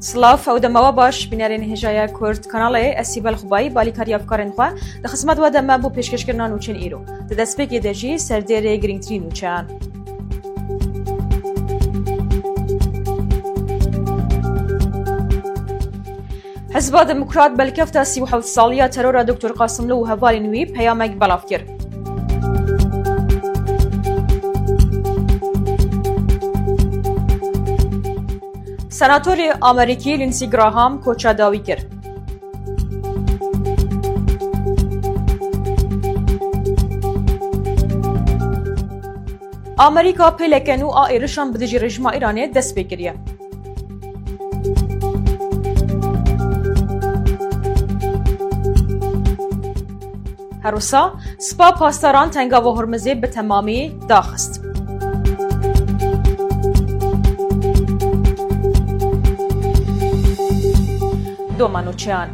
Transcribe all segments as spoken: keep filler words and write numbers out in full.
Silav, ew dema we baş, bînerên hêjaya Kurd Kanalê, ez Sîbel Xubayî, balîkariya evkarên xwe, di xizmet we de me bo pêşkêşkirina nûçeyên îro. Di destpêkê de jî serdêrê girîngtirîn nûçeyan. Hizba Demokrat belkefta sî û heft saliya terora Doktor Qasimlo û hevalên wî peyamek belav kir. Senatorê Amerîkî Lindsey Graham koça dawî kir. Amerîka pêleke nû a êrişan bi dijî rejîma Îranê dest pê kiriye. Her wisa, Spa pasdaran Tengava Hormizê bi temamî daxist. Doma nûçeyan.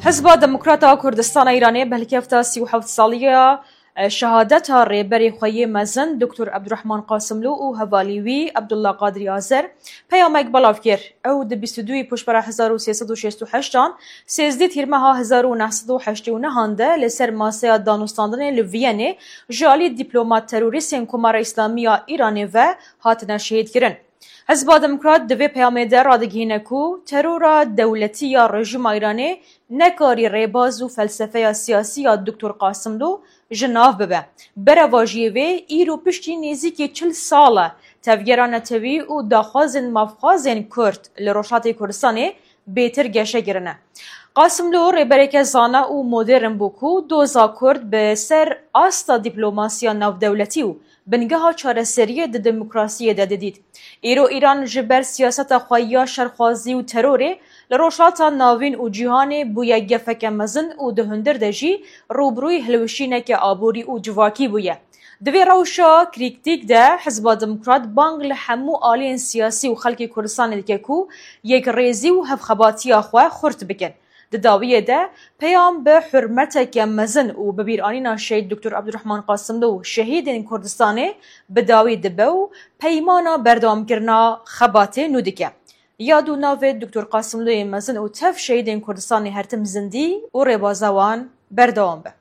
Hizba Demokrata Kurdistana Îranê belkefta sî û heft saliya şehadeta rêberê xwe yê mezin Doktor Ebdurehman Qasimlû û hevalî wî Abdullah Qadrî Azer peyamek belav kir. Ew di bîst û duyê Pûşbera hezar û sê sed û şêst û heşt an, sêzdeh Tîrmeha hezar û neh sed û heştê û neh an de li ser maseya danûstandinê li Viyenê ji alî dîplomat terorîstên Komara Îslamî ya Îranê ve hatine şehîdkirin. Hizba Demokrat di vê peyamê de radigihîne ku terora dewletî ya rejîma Îranê nekarî rêbaz û felsefeya siyasî ya Doktor Qasimlo ji nav bibe. Berevajiyê vê, îro piştî nêzîkî çil sal e tevgera netewî û daxwazên mafxwazên Kurd li Rojhatê Kurdistanê bêtir geşe kirine. Qasimlo rêbereke zana û modern bû ku doza Kurd bi ser asta dîplomasiya navdewletî û bingeha çareseriyê di demokrasiyê de didît. Îro Îran ji ber siyaseta xwe ya şerxwazî û terorê li Rojhilata Navîn û cîhanê bûye gefeke mezin û di hundir de jî rûbirûyî hilweşîneke aborî û civakî bûye. Di vê rewşa krîktîk de Hizba Demokrat bang li hemû aliyên siyasî û xelkê Kurdistanê dike ku yekrêzî û hevxebatiya xwe xurt bikin. Di dawiyê de peyam bi hurmeteke mezin û bibîranîna Şehîd Doktor Abdurrahman Qasimlo û şehîdên Kurdistanê bi dawî dibe û peymana berdewamkirina xebatê nû dike. Yad û navê Doktor Qasimloyê mezin û tev şehîdên Kurdistanê her tim zindî û rêbaza wan berdewam be.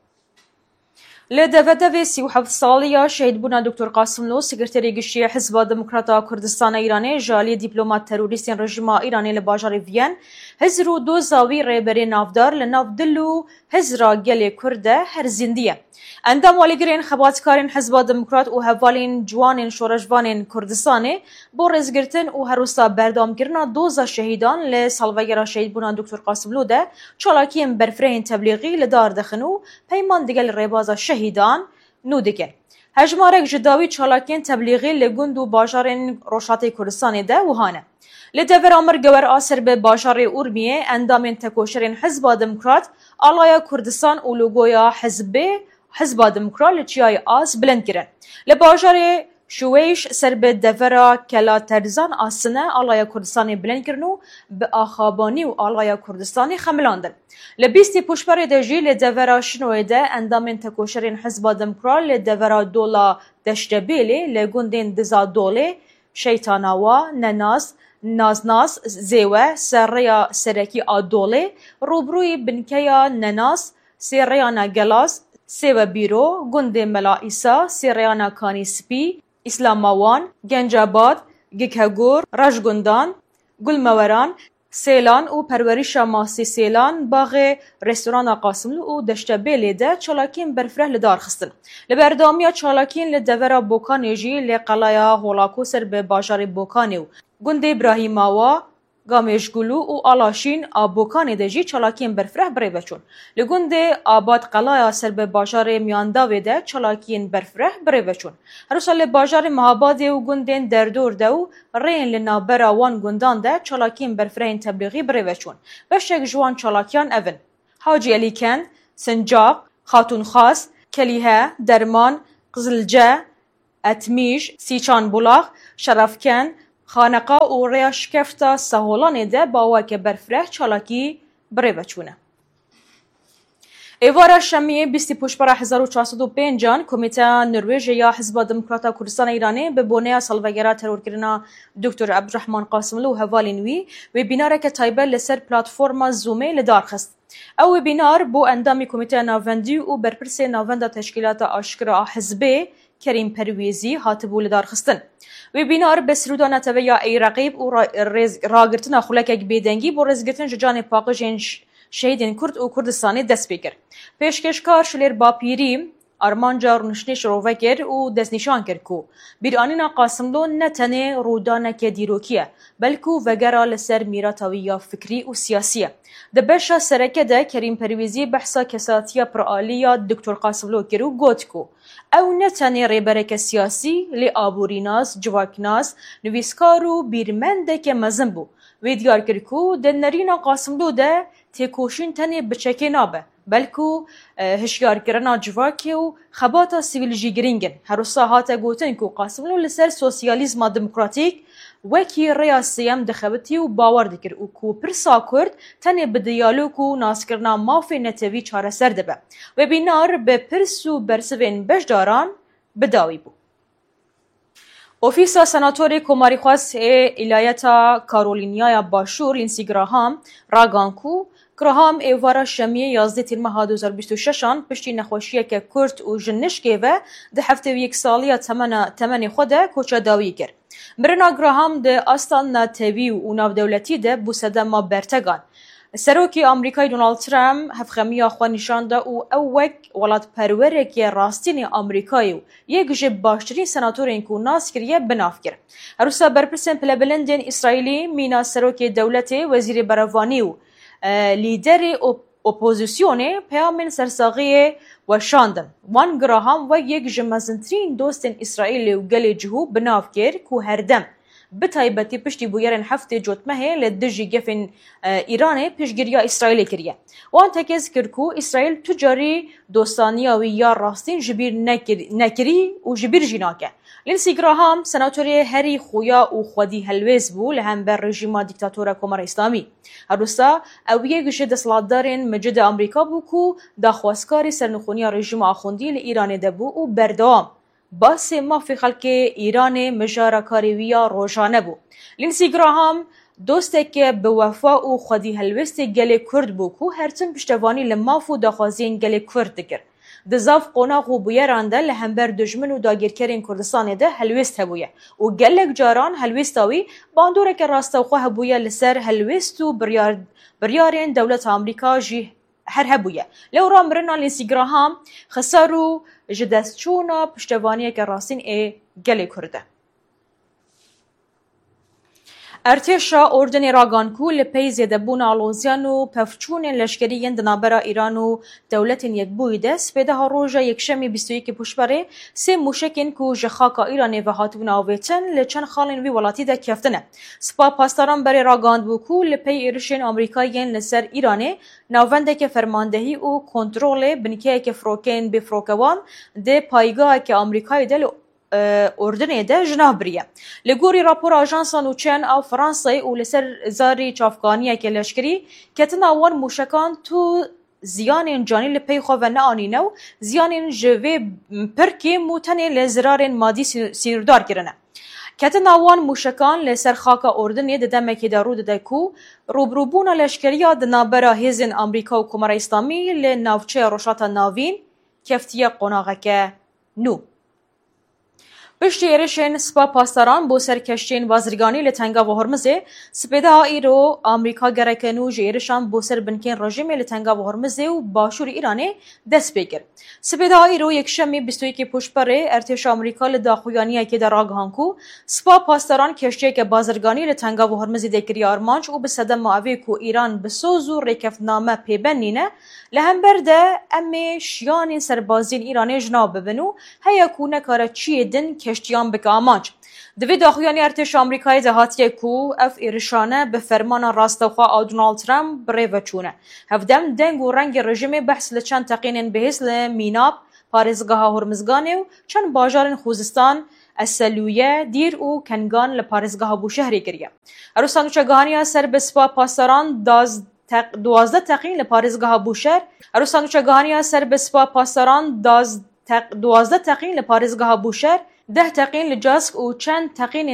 Li devedevê sî û heft saliya şehîdbûna Doktor Qasimlo, Sekreterê Giştî Hizba Demokrata Kurdistana Îranê ji alî dîplomat terorîstên rejîma Îranê li bajarê Viyen, hizr û doza wî rêberê navdar li nav dil û hizra gelê Kurd de her zindî ye. Endam û alîgirên xebatkarên Hizba Demokrat û hevalên ciwanên şoreşvanên Kurdistanê bo rêzgirtin û her wisa berdewamkirina doza şehîdan li salvegera şehîdbûna Doktor Qasimlo de çalakiyên berfirehên teblîxî li dar dixin û peyman digel rêbaza şehîdan nû dikin. Hejmarek ji dawî çalakiyên teblîxî li gund û bajarên Rojhatê Kurdistanê de wiha ne. Li devera Mirgewer a ser bi bajarê Urmiyê endamên tekoşerên Hizba Demokrat alaya Kurdistan û logoya hizbê Hizba Demokrat li Çiyayê As bilind kirin. Li bajarê Şuweyş ser bi devera Kela Terzan a Sine alaya Kurdistanê bilind kirin û bi axabanî û alaya Kurdistanê xemilandin. Li bîstê Pûşberê de jî li devera Şinoyê de endamên tekoşerên Hizba Demokrat li devera Dola Deştebêlê li gundên Diza Dolê, Şeytanawa, Nenaz, Naznaz, Zêwe, Serreya Serekî a Dolê, rûbirûyî binkeya Nenaz, Sêreyana Gelaz, Sêwe Bîro, gundê Mela Îsa, Sêreyana Kanî Spî, Îslamawan, Gencabad, Gikegor, Rajgundan, Gulmeweran, Sêlan û perwerişa masî Sêlan, baxê restorana Qasimlû û Deştebêlê de çalakiyên berfireh li dar xistin. Li berdewamiya çalakiyên li devera Bokanê jî li qelaya Holako ser bi bajarê Bokanê û gundê Brahîmawa, Gamêşgulû û Alaşîn a Bokanê de jî çalakiyên berfireh bi rê ve çûn. Li gundê Abad Qelaya ser bi bajarê Miyandavê de çalakiyên berfireh bi rê ve çûn. Her wisa li bajarê Mehabadê û gundên derdor de û rêyên li navbera wan gundan de çalakiyên berfirehên teblîxî bi rê ve çûn. Beşek ji wan çalakiyan ev in: Hacî Elî Kend, Sincaq, Xatûnxas, Kelîhe, Derman, Qizilce, Etmîj, Sîçan Bulax, Şerefkend, Xaneqa û rêya şikefta Seholanê de bi awayeke berfireh çalakî bi rê ve çûne. Êvara Şemiyê bîstî Pûşbera hezar û çar sed û pênc an Komîteya Norwêjê ya Hizba Demokrata Kurdistana Îranê bi boneya salvegera terorkirina Doktor Ebdurehman Qasimlu û hevalên wî webînareke taybet li ser platforma Zoomê li dar xist. Ew webînar bo endamê Komîteya Navendî û berpirsê Navenda Teşkîlata Aşkira a Hizbê Kerîm Perwêzî hatibû lidarxistin. Webînar bi sirûda netewe ya Ey Reqîb û ra-, rêz-, ragirtina xulekek bêdengî bo rêzgirtin ji canê paqij ên ş-, şehîdên Kurd û Kurdistanê dest pê kir. Pêşkêşkar Şilêr Bapîrî armanca rûniştinê şirove kir û destnîşan kir ku bîranîna Qasimlo ne tenê rûdaneke dîrokî ye, belkû vegera li ser mîrata wî ya fikrî û siyasî ye. Di beşa sereke de Kerîm Perwêzî behsa kesatiya piralî ya Doktor Qasimlo kir û got ku ew ne tenê rêbereke siyasî, lê aborînas, civaknas, nivîskar û bîrmendeke mezin bû. Wê diyar kir ku di nerîna Qasimlo de têkoşîn tenê bi çekê nabe, belkû, e, hişyarkirina civakê û xebata sivîl jî girîng in. Her wisa hate gotin ku Qasimlo li ser sosyalîzma demokratîk wekî rêya sêyem dixebitî û bawer dikir û ku pirsa Kurd tenê bi diyalog û naskirina mafê netewî çareser dibe. Webînar bi pirs û bersivên beşdaran bi dawî bû. Ofîsa Senatorê Komarîxwaz ê Îlayeta Karolînyaya Başûr, Lindsey Graham, ragan ku Graham êvara Şemiyê yazdeh Tîrmeha du hazar bîst û şeş an piştî nexweşiyeke kurt û ji nişkê ve di heftê û yek saliya temena, temenê xwe de koça dawî kir. Mirina Graham di asta netewî û navdewletî de bû sedema bertegan. Serokê Amerîkayê Donald Trump hevxemiya xwe nîşan da û ew wek welatperwereke rastînê Amerîkayê û yek ji baştirîn senatorên ku nas kiriye bi nav kir. Her wisa berpirsên pilebilindên Îsraîlî mîna serokê dewletê, wezîrê berevanî û, e, lîderê op-, opozisyonê peyamên sersaxiyê weşandin. Wan Graham wek yek ji mezintirîn dostên Îsraîlê û gelê cihû bi nav kir ku herdem, bi taybetî piştî bûyerên heftê Cotmehê li dijî gefên, e, Îranê piştgiriya Îsraîlê kiriye. Wan tekez kir ku Îsraîl tu carî dostaniya wî ya rastîn ji bîr nekir-, nekirî û ji bîr jî nake. Lindsey Graham senatorê herî xuya û xwedî helwêst bû li hember rejîma dîktatora Komara Îslamî. Her wisa ew yek ji desthilatdarên micid Amerîka bû ku daxwazkarê sernixûniya rejîma Axundî li Îranê de bû û berdewam basê mafê xelkê Îranê mijara karê wî ya rojane bû. Lindsey Graham dosteke bi wefa û xwedî helwêstê gelê Kurd bû ku her tim piştevanî li maf û daxwaziyên gelê Kurd dikir. Di zaf qonax û bûyeran de li hember dijmin û dagîrkerên Kurdistanê de helwêst hebûye û gelek caran helwêsta wî bandoreke rastewxwe hebûye li ser helwêst û biryar-, biryarên dewleta Amerîka jî her hebûye. Lewra mirina Lindsey Graham xisar û ji destçûna piştevaniyeke rastîn ê gelê Kurd e. Ertêşa Urdunê ragan ku li pey zêdebûna aloziyan û pevçûnên leşkerî yên di navbera Îran û Dewletên Yekbûyî de spêdeha roja Yekşemê bîst û yekê Pûşberê sê mûşekên ku ji xaka Îranê ve hatibûne avêtin li çend xalên wî welatî de keftine. Spa Pasdaran berê ragandibû ku li pey êrişên Amerîkayê yên li ser Îranê navendeke fermandehî û kontrolê binkeyeke firokeyên bêfirokewan di paygaheke Amerîkayê de li e, Urdunê de ji nav biriye. Li gorî rapora ajansa nûçeyan a Fransayê û li ser zarî çavkaniyeke leşkerî, ketina wan mûşekan tu ziyanên canî li pey xwe ve neanîne û ziyanên ji vê pir kêm û tenê li zirarên madî sî-, sînordar kirine. Ketina wan mûşekan li ser xaka Urdunê di demekê de rû dide ku rûbirûbûna leşkeriya di navbera hêzên Amerîka û Komara Îslamî li navçeya Rojhilata Navîn keftiye qonaxeke nû. Piştî êrişên Spa Pasdaran bo ser keştiyên bazirganî li Tengava Hormizê, sipêdeha îro Amerîka gereke nû ji êrişan bo ser binkên rejîmê li Tengava Hormizê û başûrê Îranê dest pê kir. Sipêdeha îro Yekşemê bîst û yekê Pûşberê, ertêşa Amerîka li daxuyaniyekê de ragihan ku Spa Pasdaran keştiyeke bazirganî li Tengava Hormizê de kiriye armanc û bi sedema evê ku Îran bi soz û rêkeftiname pêbend nîne, li hember de em ê şiyanên serbaziyên Îranê ji nav bibin û heya ku nekare çiyê din keştiyan bike amanc. Di vê daxuyanî ertêşa Amerîkayê de hatiye ku ev êrişane bi fermana rastewxwe a Donald Trump bi rê ve çûne. Hevdem deng û rengê rejîmê behs li çend teqînên bihêz li Mînab, parêzgeha Hormizganê û çend bajarên Xuzistan, Eselûye, Dîr û Kengan li parêzgeha Bûşehrê kiriye. Her wisa nûçegihaniya ser bi Spa Pasdaran daz-, teq-, duwazdeh teqîn li parêzgeha Bûşer. Her wisa nûçegihaniya ser bi Spa Pasdaran daz-, teq-, duwazdeh teqîn li parêzgeha Bûşer, deh teqîn li Cask û çend teqîn